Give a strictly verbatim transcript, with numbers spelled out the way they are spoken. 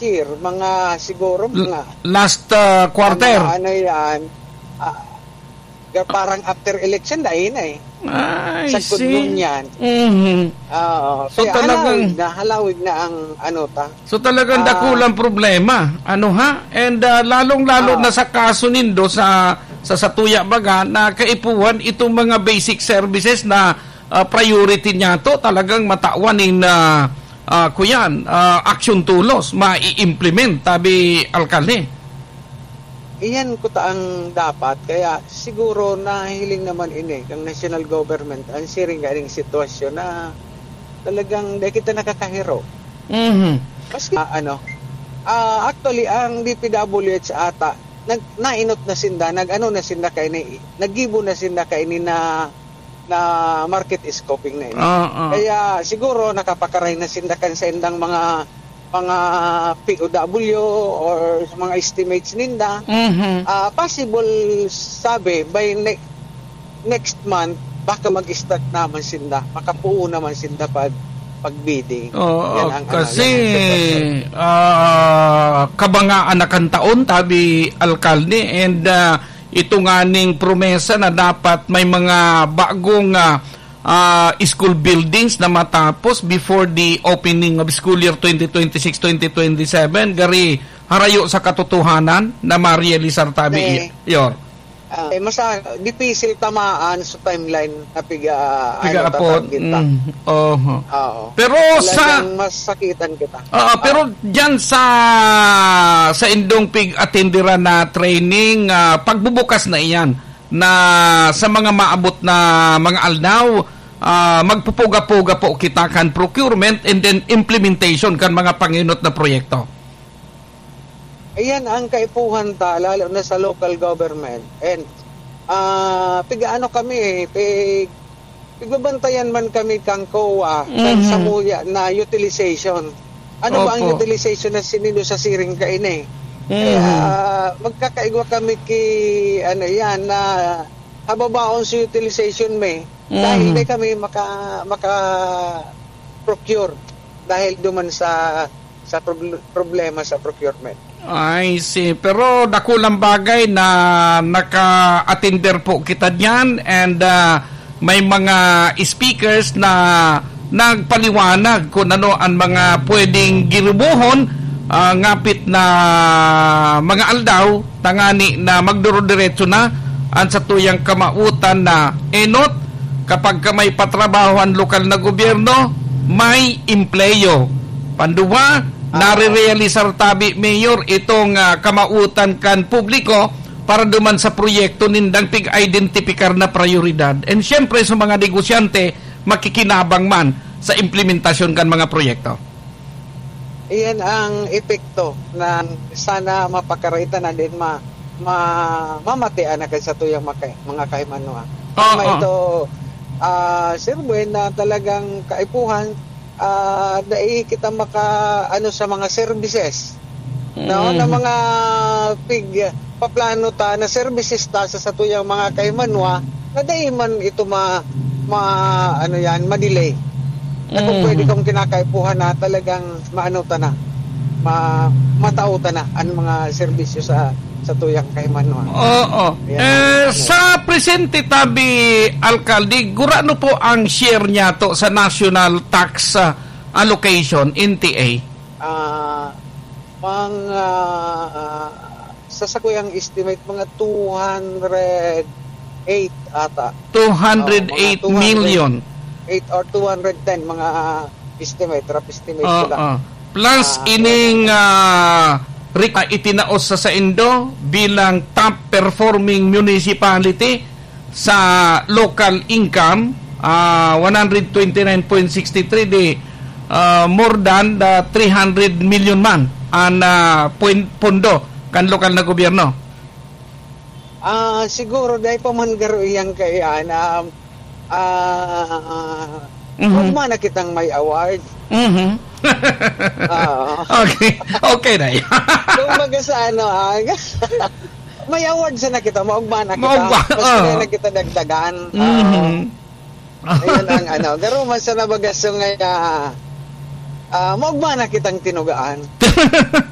year, mga siguro L-, mga last, ah, quarter. Mga ano yan, ah, ga-, parang after election, dai na eh. I Sagkod see. Ngunyan. Mhm. Oo. So, Kaya talagang halawig na, halawig na ang ano ta. So, talagang Ah. dakulang problema. Ano ha? And, ah, lalong-lalo Ah. na sa kaso nindo sa, sa, sa tuya baga na kaipuhan itong mga basic services na, ah, priority niya to, talagang matawan in, ah, ah, kuyan, ah, action tulos, mai-implement, tabi alkalde. Iyan kuta ang dapat, kaya siguro nahiling naman ini kang national government, ang siring ganing sitwasyon na talagang di kita nakakahiro. Mhm. Maski, ah, ano, ah, actually, ang D P W H ata, nag-, nainot na sinda, nag-ano na sinda kaini, naggibo na sinda kaini na, na market scoping na ini. Oo. Kaya siguro nakapakaray na sinda kan sa indang mga, mga P O W or sa mga estimates ninda. Mhm. Ah, possible, sabi, by ne-, next month, baka mag-start naman sinda. Makapuo naman sinda pag, pag-bidding. Oo, Yan ang ano, kasi, yan ang sitwasyon. ah, kabangaan na kan taon, tabi alkalde, and, ah, ito nga ning promesa na dapat may mga bagong, ah, ah, school buildings na matapos before the opening of school year twenty twenty-six, twenty twenty-seven, gari harayo sa katotohanan na marealisar tabi, Eh. Yor. Ah, eh, masa-, dipisil tamaan sa timeline na piga, ano, Piga-apot. tatarget ta. Mm, oho. Oo. Pero sa Talagang masakitan kita. Oo, Ah. pero dyan sa, sa indong pig-atenderan na training, ah, pagbubukas na iyan na sa mga maabot na mga aldaw, ah, magpupuga-puga po kita kan procurement and then implementation kan mga pangenot na proyekto. Ayan ang kaipuhan ta, lalo na sa local government. And, ah, pigaano kami, eh, pig-, pigbabantayan man kami kang COA, kan Mhm. samuya na utilization. Ano ba ang Opo. utilization na sinindo sa siring kaini? Mhm. Kaya, magkakaigwa kami ki, ano yan, na hababaon sa utilization may. Dahil Mhm. di kami maka-, maka-procure. Dahil duman sa sa proble-, problema sa procurement. I see. Pero dakulang bagay na naka-attender po kita diyan and, ah, may mga speakers na nagpaliwanag kung ano ang mga pwedeng girubohon, ah, ngapit na mga aldaw, tangani na magdurodiretso na ang satuyang kamautan na enot, kapag ka may patrabaho ang lokal na gobyerno, may empleyo. Panduwa, Ah. nare-realisar tabi, Mayor, itong, ah, kamautan kan publiko para duman sa proyekto nindang pig-identipikar na prayoridad. And siyempre, sa mga negosyante, makikinabang man sa implementasyon kan mga proyekto. Iyan ang epekto na sana mapakaraita na din ma-, ma-, mamatean na kan satuyang maka-, mga kahimanwa. Oo. Tama ito, ah, Sir Buen, na talagang kaipuhan, ah, dai kita maka-, ano, sa mga services. No? Na Mm. mga pig-, paplano ta na services ta sa satuyang mga kahimanwa na dai man ito ma-, ma-, ano yan, ma-delay. Na kung Mm. pwede kong kinakaipuhan na talagang maano ta na, ma-, matao ta na ang mga serbisyo sa, satuyang kahimanwa. Oo. Yan. Eh, Ano? sa presente tabi, Alkalde, gurano po ang share niya to sa national tax, ah, allocation, N T A? Ah, mga, ah, sa sakuyang estimate, mga two hundred eight ata. Two hundred eight million. Oo, mga two hundred eight or two hundred ten, mga estimate, rough estimate ko lang. Oo. Plus, Ah, ining, oo. ah, rik-, ah, itinaos sa saindo bilang top performing municipality sa local income, ah, one hundred twenty-nine point six three, di, ah, more than the three hundred million man ang, ah, pon-, pondo kan lokal na gobyerno. Ah, siguro dahil pa man garo iyang kaiyan, ah, ah, Mhm. huwag man na kitang may award. Mhm. Oo. Okay. Okay na yan. Kumbaga sa ano, ah, may award sana kita, maugma na kita. Maugma, Mas oo. na kita dagdagan. Mhm. Oo. Ayun ang ano. Garo man sana baga so nga, ah, ah, maugma na kitang tinugaan.